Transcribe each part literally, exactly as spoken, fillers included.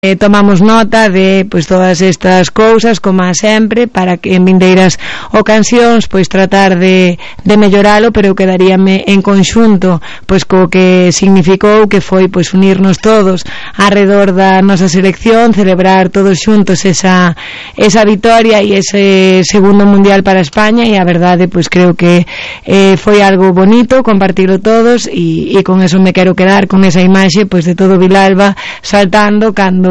Eh, tomamos nota de pois todas estas cousas, como sempre, para que en vindeiras ocasións pois tratar de, de melloralo, pero eu quedaríame en conxunto pois co que significou, que foi pois unirnos todos alrededor da nosa selección, celebrar todos xuntos esa, esa vitoria e ese segundo mundial para España, e a verdade pois creo que eh, foi algo bonito compartilo todos, e, e con eso me quero quedar, con esa imaxe pois de todo Vilalba saltando cando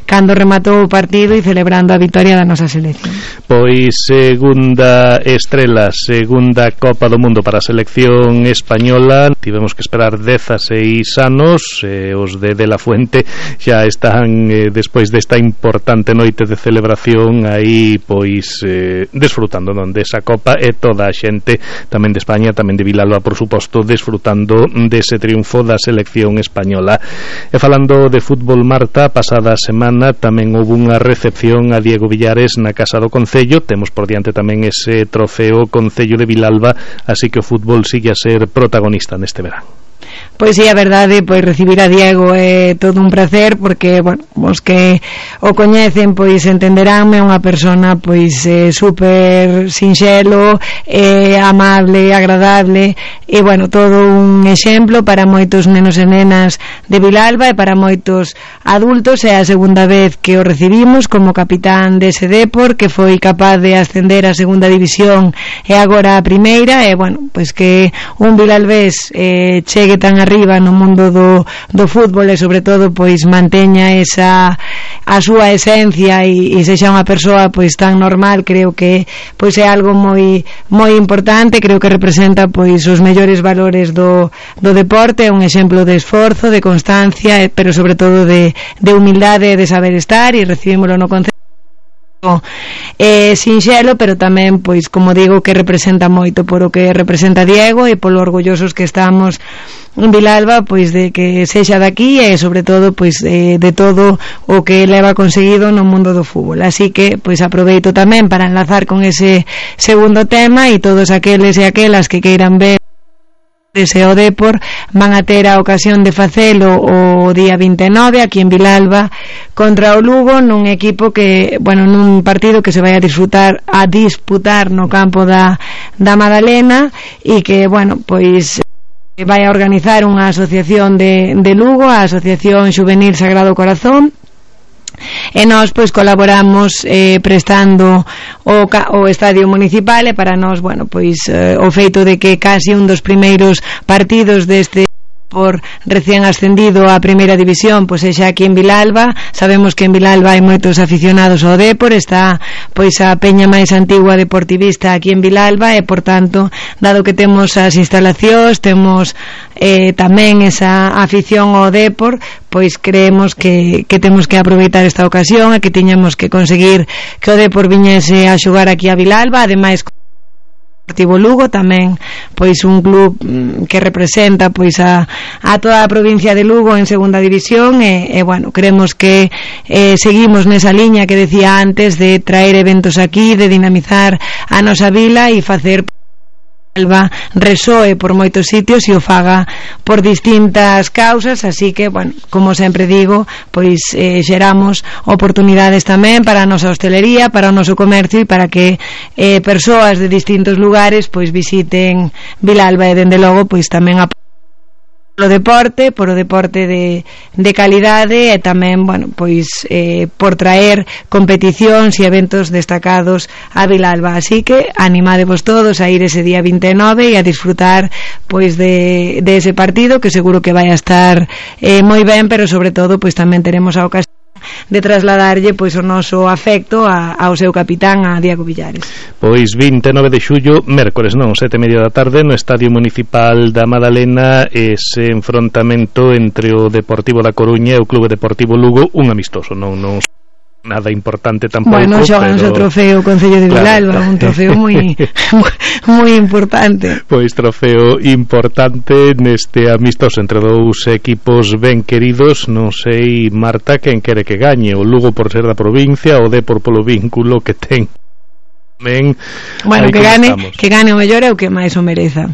cando rematou o partido e celebrando a vitoria da nosa selección. Pois segunda estrela, segunda Copa do Mundo para a selección española. Tivemos que esperar dezaseis anos, eh, os de De La Fuente xa están eh, despois desta importante noite de celebración aí pois eh, desfrutando non desa Copa, e toda a xente tamén de España, tamén de Vilalba por suposto, desfrutando dese triunfo da selección española. E falando de fútbol, Marta, pasada da semana tamén houve unha recepción a Diego Villares na Casa do Concello. Temos por diante tamén ese trofeo Concello de Vilalba, así que o fútbol sigue a ser protagonista neste verán. Pois sí, a verdade, pois recibir a Diego é todo un placer, porque, bueno, os que o coñecen pois entenderánme, unha persona pois eh, super sinxelo, eh, amable, agradable, e bueno, todo un exemplo para moitos nenos e nenas de Vilalba e para moitos adultos. É a segunda vez que o recibimos como capitán dese Depor, que foi capaz de ascender a segunda división e agora a primeira, e bueno, pois que un vilalbés eh, chegue tan arriba no mundo do, do fútbol e sobre todo pois manteña esa a súa esencia e, e sexa unha persoa pois tan normal, creo que pois é algo moi moi importante. Creo que representa pois os mellores valores do, do deporte, un exemplo de esforzo, de constancia, pero sobre todo de, de humildade e de saber estar, e recibímolo no concello eh, sinxelo, pero tamén pois como digo que representa moito por o que representa Diego e polo orgullosos que estamos en Vilalba pois de que sexa daqui e sobre todo pois eh, de todo o que leva conseguido no mundo do fútbol. Así que pois aproveito tamén para enlazar con ese segundo tema, e todos aqueles e aquelas que queiran ver ese o Depor van a ter a ocasión de facelo o día vinte e nove aquí en Vilalba contra o Lugo, nun equipo que, bueno, nun partido que se vai a disfrutar a disputar no campo da, da Madalena, e que, bueno, pois vai a organizar unha asociación de, de Lugo, a Asociación Xuvenil Sagrado Corazón, e nós pois colaboramos eh, prestando o, o estadio municipal, e para nós, bueno, pois eh, o feito de que casi un dos primeiros partidos deste por recién ascendido a primeira división pois é xa aquí en Vilalba. Sabemos que en Vilalba hai moitos aficionados ao Depor, está pois a peña máis antigua deportivista aquí en Vilalba, e por tanto, dado que temos as instalacións, temos eh, tamén esa afición ao Depor, pois creemos que, que temos que aproveitar esta ocasión e que tiñamos que conseguir que o Depor viñese a xogar aquí a Vilalba. Ademais, Deportivo Lugo tamén pois un club que representa pois a, a toda a provincia de Lugo en segunda división, e, e bueno, creemos que eh, seguimos nesa liña que decía antes de traer eventos aquí, de dinamizar a nosa vila e facer Alba resoe por moitos sitios e o faga por distintas causas. Así que, bueno, como sempre digo, pois eh, xeramos oportunidades tamén para a nosa hostelería, para o noso comercio, e para que eh, persoas de distintos lugares pois visiten Vilalba, e dende logo pois tamén a polo deporte, por o deporte de, de calidade, e tamén, bueno, pois eh, por traer competicións e eventos destacados a Vilalba. Así que animadevos todos a ir ese día vinte e nove e a disfrutar pois de, de ese partido, que seguro que vai a estar eh, moi ben, pero sobre todo pois tamén teremos a ocasión de trasladarlle pois o noso afecto a, ao seu capitán, a Diego Villares. Pois vinte e nove de xullo, mércores, non, sete e media da tarde, no Estadio Municipal da Madalena, ese enfrontamento entre o Deportivo da Coruña e o Clube Deportivo Lugo, un amistoso, non non nada importante tampouco. Bueno, xogan pero... o trofeo Concello de Vilalba, claro. Un trofeo moi moi importante. Pois trofeo importante neste amistoso entre dous equipos ben queridos. Non sei, Marta, quen quere que gañe, o Lugo por ser da provincia, o Depor polo vínculo que ten. Ben, bueno, que gane, estamos. Que gane o mellor é o que máis o mereza.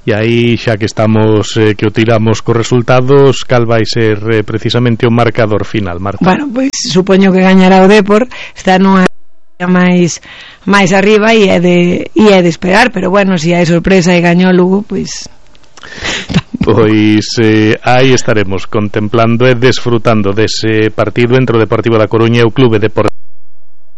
e aí xa que estamos eh, que o tiramos cos resultados, cal vai ser eh, precisamente o marcador final, Marta? Bueno, pois supoño que gañará o Depor, está nunha máis máis arriba e é de e é de esperar, pero bueno, se si hai sorpresa e gañou o Lugo, pois Pois eh, aí estaremos contemplando e desfrutando dese partido entre o Deportivo da Coruña e o Clube Deportivo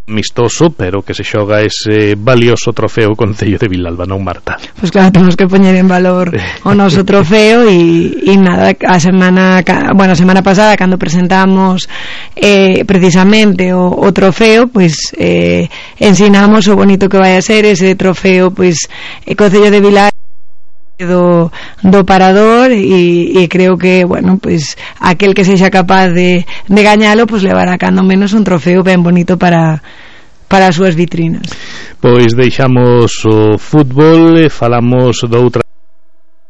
amistoso, pero que se xoga ese valioso trofeo Concello de Vilalba, non, Marta? Pois claro, temos que poñer en valor o noso trofeo e, e nada, a semana bueno, a semana pasada cando presentamos eh, precisamente o, o trofeo, pois eh, ensinamos o bonito que vai a ser ese trofeo, pois eh, Concello de Vilalba do, do parador e, e creo que, bueno, pois aquel que sexa capaz de, de gañalo, pois levará cando menos un trofeo ben bonito para para as súas vitrinas. Pois deixamos o fútbol e falamos doutra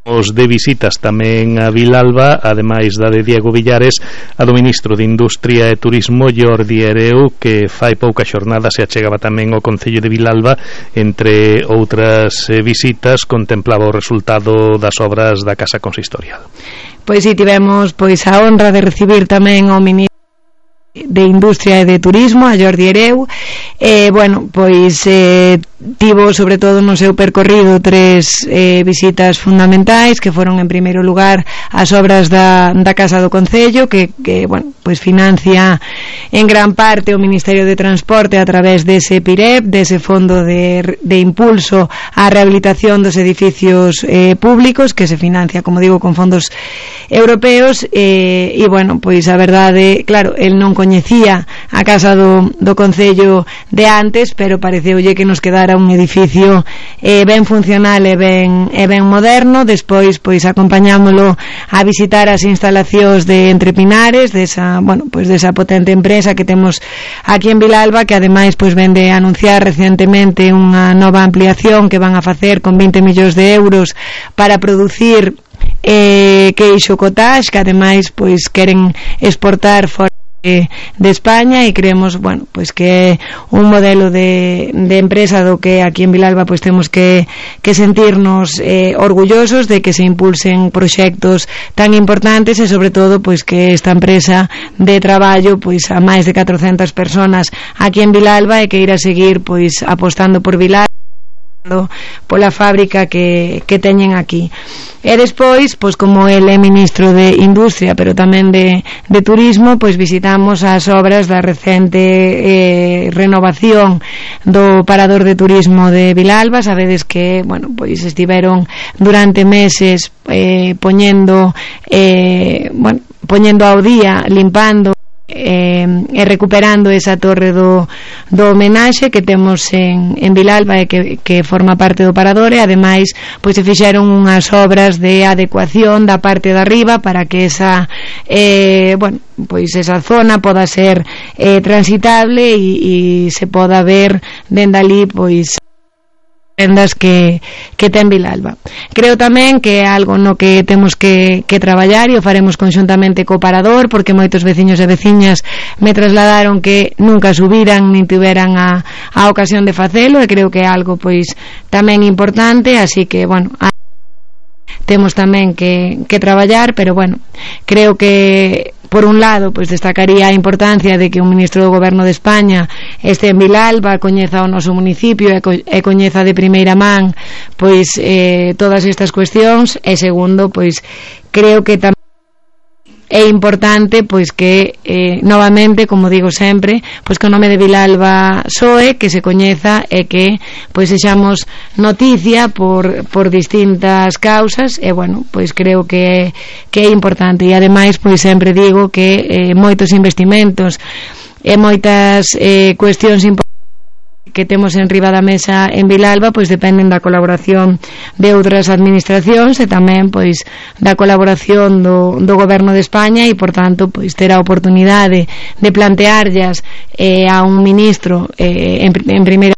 os de visitas tamén a Vilalba, ademais da de Diego Villares, a do ministro de Industria e Turismo Jordi Hereu, que fai pouca xornada se achegaba tamén ao Concello de Vilalba. Entre outras eh, visitas contemplaba o resultado das obras da Casa Consistorial. Pois si, tivemos pois a honra de recibir tamén ao ministro de Industria e de Turismo, a Jordi Hereu. Eh, bueno, pois eh, tivo sobre todo no seu percorrido tres eh, visitas fundamentais, que foron en primeiro lugar as obras da, da Casa do Concello, que, que bueno, pois financia en gran parte o Ministerio de Transporte a través dese P I R E P, dese Fondo de, de Impulso á Rehabilitación dos Edificios eh, Públicos, que se financia, como digo, con fondos europeos. eh, e bueno, pois a verdade, claro, el non coñecía a Casa do, do Concello de antes, pero pareceulle que nos quedara un edificio eh, ben funcional e ben, e ben moderno. Despois pois acompañámolo a visitar as instalacións de Entre Pinares, desa, bueno, pois desa potente empresa que temos aquí en Vilalba, que ademais pois vende a anunciar recientemente unha nova ampliación que van a facer con vinte millóns de euros para producir eh, queixo cottage, que ademais pois queren exportar fora de España, e creemos, bueno, pois que é un modelo de, de empresa do que aquí en Vilalba pois temos que, que sentirnos eh, orgullosos de que se impulsen proxectos tan importantes, e sobre todo pois que esta empresa de traballo pois a máis de catrocentas personas aquí en Vilalba, e que irá seguir pois apostando por Vilalba, pola fábrica que, que teñen aquí. E despois, pois como el é ministro de Industria, pero tamén de, de Turismo, pois visitamos as obras da recente eh, renovación do Parador de Turismo de Vilalba. Sabedes que, bueno, pois estiveron durante meses eh, poñendo eh, bueno, poñendo ao día, limpando Eh, e recuperando esa torre do, do homenaxe que temos en, en Vilalba, e que, que forma parte do parador. E ademais pois se fixeron unhas obras de adecuación da parte de arriba para que esa eh, bueno, pois esa zona poda ser eh, transitable e, e se poda ver dende ali pois vendas que, que ten Vilalba. Creo tamén que é algo no que temos que, que traballar, e o faremos conxuntamente co parador, porque moitos veciños e veciñas me trasladaron que nunca subiran nin tiveran a, a ocasión de facelo, e creo que é algo pois tamén importante. Así que, bueno, a temos tamén que, que traballar, pero bueno, creo que por un lado, pois destacaría a importancia de que un ministro do Goberno de España este en Vilalba, coñeza o noso municipio e, co e coñeza de primeira man pois eh, todas estas cuestións. E segundo, pois creo que tamén é importante pois que eh, novamente, como digo sempre, pois que o nome de Vilalba soe, que se coñeza, e que pois sexamos noticia por, por distintas causas. E bueno, pois creo que, que é importante. E ademais pois sempre digo que eh, moitos investimentos e moitas eh, cuestións importantes que temos en riba da mesa en Vilalba pois dependen da colaboración de outras administracións, e tamén pois da colaboración do, do Goberno de España, e por tanto pois ter a oportunidade de plantearllas eh, a un ministro eh, en, en primeira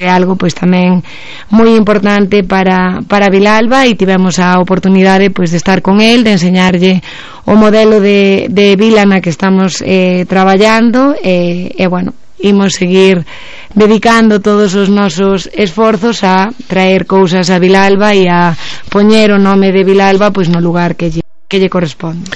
é algo pois tamén moi importante para, para Vilalba. E tivemos a oportunidade pois de estar con el, de enseñarlle o modelo de, de vila na que estamos eh, traballando, e, e bueno, imos seguir dedicando todos os nosos esforzos a traer cousas a Vilalba e a poñer o nome de Vilalba pois no lugar que lle, que lle corresponde.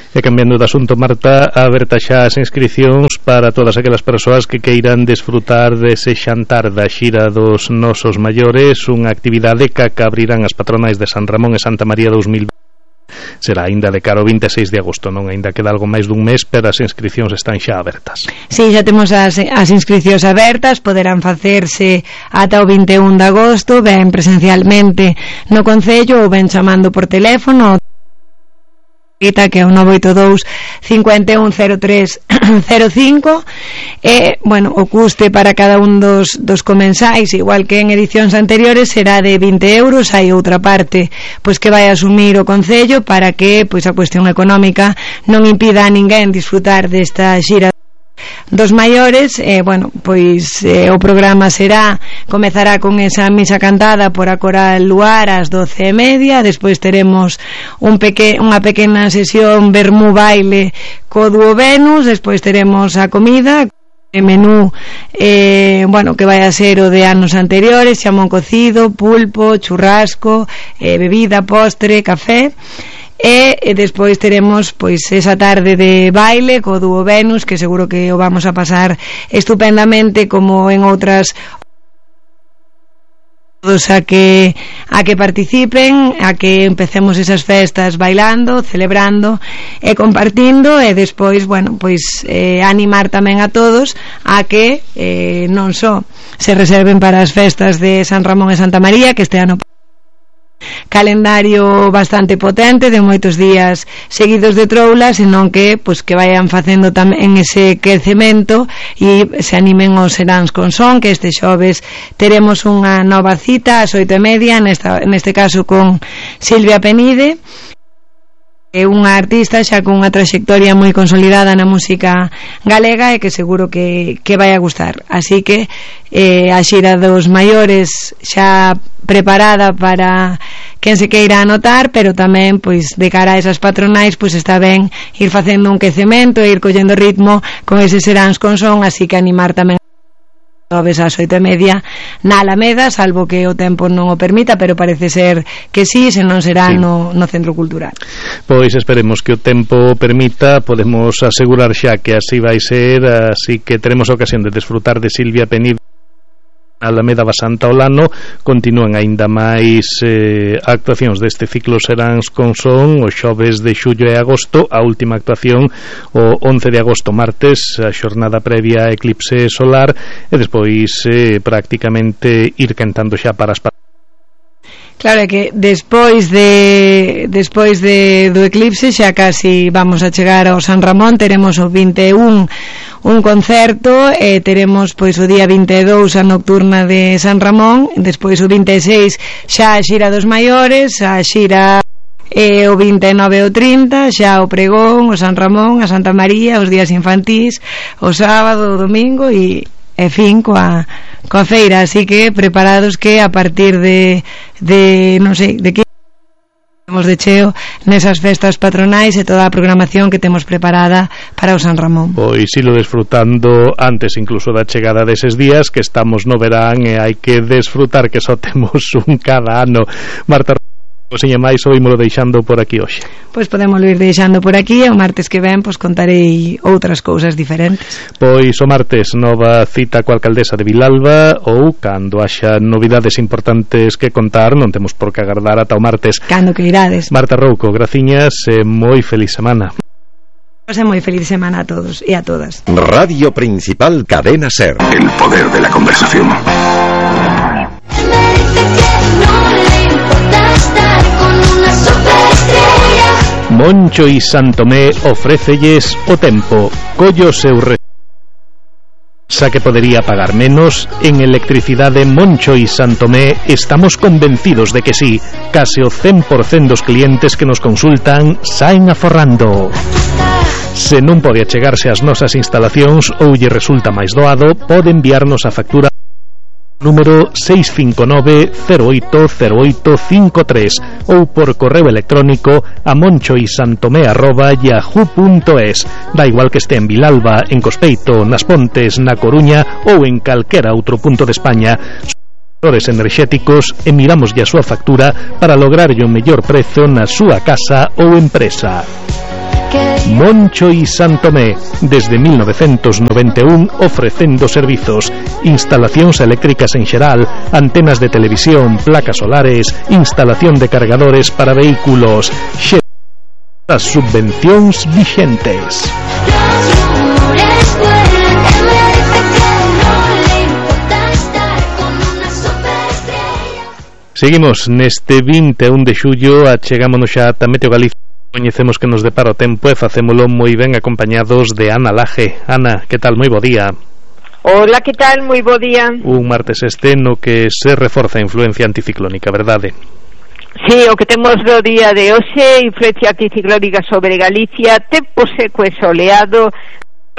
E cambiando de asunto, Marta, aberta xa as inscricións para todas aquelas persoas que queiran desfrutar dese xantar da xira dos nosos maiores, unha actividade que abrirán as patronais de San Ramón e Santa María dos mil vinte. Será aínda de cara ao vinte e seis de agosto, non aínda queda algo máis dun mes, pero as inscricións están xa abertas. Si, sí, xa temos as, as inscricións abertas, poderán facerse ata o vinte e un de agosto, ben presencialmente no Concello ou ben chamando por teléfono, que é o nove oito dous, cinco un, cero tres cero cinco. E, bueno, o custe para cada un dos, dos comensais, igual que en edicións anteriores, será de vinte euros. Hai outra parte pois que vai asumir o Concello para que pois a cuestión económica non impida a ninguén disfrutar desta xira dos maiores. E, bueno, pois eh, o programa será, comezará con esa misa cantada por a Coral Luar ás doce e media, despois teremos un peque, unha pequena sesión vermú baile co dúo Venus, despois teremos a comida, e menú eh, bueno, que vai a ser o de anos anteriores, xamón cocido, pulpo, churrasco, eh, bebida, postre, café. E, e despois teremos pois esa tarde de baile co dúo Venus, que seguro que o vamos a pasar estupendamente, como en outras, todos a que a que participen, a que empecemos esas festas bailando, celebrando e compartindo. E despois, bueno, pois eh, animar tamén a todos a que eh, non só se reserven para as festas de San Ramón e Santa María, que este ano calendario bastante potente de moitos días seguidos de troula, senón que pois que vayan facendo tamén ese crecemento e se animen os seráns con son, que este xoves teremos unha nova cita ás oito e media, nesta, neste caso con Silvia Penide, é unha artista xa con unha traxectoria moi consolidada na música galega e que seguro que, que vai a gustar. Así que eh, a xira dos maiores xa preparada para quen se queira anotar, pero tamén pois de cara a esas patronais pois está ben ir facendo un quecemento e ir collendo ritmo con eses seráns con son, así que animar tamén xoves ás oito e media na Alameda, salvo que o tempo non o permita, pero parece ser que sí, se non será sí. no, no Centro Cultural. Pois esperemos que o tempo permita, podemos asegurar xa que así vai ser, así que teremos ocasión de desfrutar de Silvia Penide Alameda Basanta Olano. Continúan aínda máis eh, actuacións deste ciclo Seráns con Son os xoves de xullo e agosto. A última actuación o once de agosto, martes, a xornada previa a eclipse solar, e despois eh, prácticamente ir cantando xa para as. Claro, é que despois de despois de do eclipse xa casi vamos a chegar ao San Ramón. Teremos o vinte e un un concerto e teremos pois o día vinte e dous a nocturna de San Ramón, despois o vinte e seis xa a xira dos maiores, a xira e o vinte e nove e o trinta xa o pregón, o San Ramón, a Santa María, os días infantís, o sábado, o domingo e e fin coa, coa feira. Así que preparados que a partir de, de non sei, de que temos de cheo nesas festas patronais e toda a programación que temos preparada para o San Ramón. Pois ilo desfrutando antes incluso da chegada deses días, que estamos no verán e hai que desfrutar, que só temos un cada ano. Marta, Seña máis, o ímolo deixando por aquí hoxe. Pois podemos ir deixando por aquí, e o martes que ven pois contarei outras cousas diferentes. Pois o martes nova cita coa alcaldesa de Vilalba, ou cando haxa novidades importantes que contar, non temos por que agardar ata o martes. Cando que irades. Marta Rouco, graciñas e moi feliz semana. Pois é moi feliz semana a todos e a todas. Radio Principal Cadena Ser. El poder de la conversación. Moncho y Santomé ofrécelles o tempo. Collo seu re... Sa que podería pagar menos. En electricidade Moncho y Santomé estamos convencidos de que sí. Case o cen por cento dos clientes que nos consultan saen aforrando. Se non pode achegarse ás nosas instalacións ou lle resulta máis doado, pode enviarnos a factura número seis cinco nove cero oito cero oito cinco tres ou por correo electrónico a monchoisantomé arroba yahoo punto es. Da igual que este en Vilalba, en Cospeito, nas Pontes, na Coruña ou en calquera outro punto de España. Valores enerxéticos e miramos a súa factura para lograrlle o mellor prezo na súa casa ou empresa. Moncho y Santomé, desde mil novecentos noventa e un ofrecendo servizos, instalacións eléctricas en xeral, antenas de televisión, placas solares, instalación de cargadores para vehículos, as subvencións vixentes. Seguimos neste vinte e un de xullo, achegámonos xa ata Meteo Galicia. Coñecemos que nos depara o tempo e facémolo moi ben acompañados de Ana Laje. Ana, que tal? Moi bo día. Hola, que tal? Moi bo día. Un martes este no que se reforza a influencia anticiclónica, verdade? Sí, o que temos do día de hoxe, influencia anticiclónica sobre Galicia, tempo seco e soleado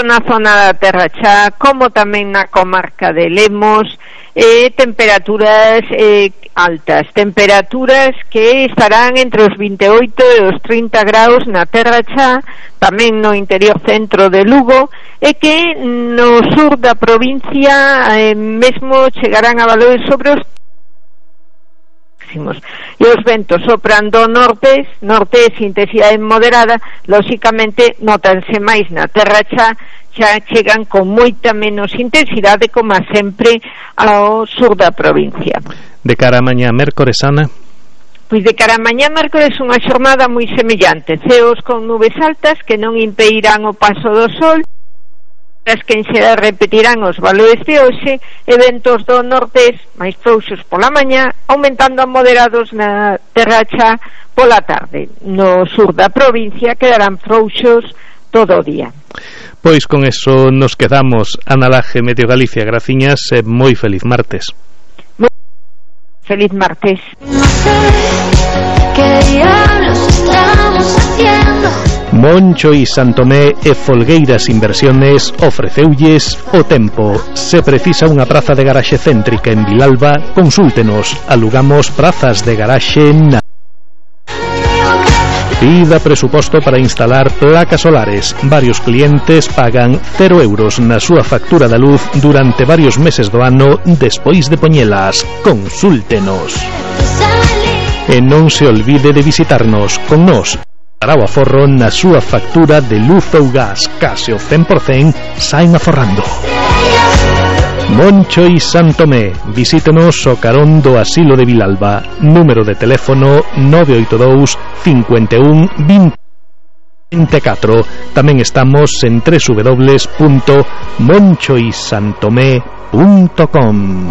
na zona da Terra Chá, como tamén na comarca de Lemos, eh, temperaturas eh, altas, temperaturas que estarán entre os vinte e oito e os trinta graus na Terra Chá, tamén no interior centro de Lugo, e que no sur da provincia eh, mesmo chegarán a valores sobre os e os ventos sopran do norte, norte e intensidade moderada, lóxicamente notanse máis na Terra Chá, xa chegan con moita menos intensidade como sempre ao sur da provincia. De cara a mañá mércores, Ana? Pois de cara a mañá mércores unha xornada moi semellante, ceos con nubes altas que non impedirán o paso do sol, as que enxera repetirán os valores de hoxe, eventos do norte máis frouxos pola mañá, aumentando a moderados na Terra Chá pola tarde. No sur da provincia quedarán frouxos todo o día. Pois con eso nos quedamos. Ana Laje, Meteo Galicia, graciñas e moi feliz martes. Muy feliz martes. No sé qué diablos estamos haciendo. Moncho y Santomé e Folgueiras Inversiones ofreceulles o tempo. Se precisa unha praza de garaxe céntrica en Vilalba, consúltenos. Alugamos prazas de garaxe na... Pida presuposto para instalar placas solares. Varios clientes pagan cero euros na súa factura da luz durante varios meses do ano despois de poñelas. Consúltenos. E non se olvide de visitarnos. Con nós para o aforro na súa factura de luz ou gas, case o cen por cen saen aforrando. Moncho y Santomé, visítenos o carón do Asilo de Vilalba, número de teléfono nove oito dous, cinco un, vinte e catro. Tamén estamos en doble u doble u doble u punto moncho y santomé punto com.